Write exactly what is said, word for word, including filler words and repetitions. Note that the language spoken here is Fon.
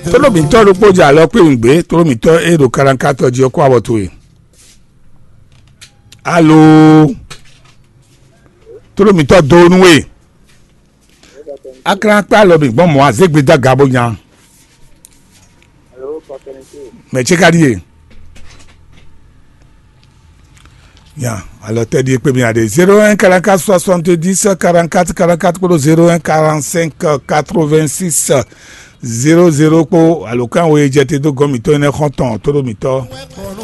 Tónɔmítɔ́ ɖokpó jɛ alɔ kpé wǐngbé, tónɔmítɔ́ e ɖo kalankátɔ jí ɔ́ kó awɔ towe. Alo, tónɔmítɔ́ dó nú we. Aklan kpé alɔ mì gbɔn mɔ̌ azégbe dó aga bó nya. Mɛ ce ka ɖíe. Ya, alɔ tɛ ɖíe kpé mi aɖe. Zéro un quarante-quatre soixante-dix quarante-quatre quarante-quatre kpódó zéro un quarante-cinq quatre-vingt-six zéro zéro kpó alɔkánwé jɛ te dó gɔ́n mǐtɔn énɛ́ xɔ́ntɔn tóɖó mǐtɔn.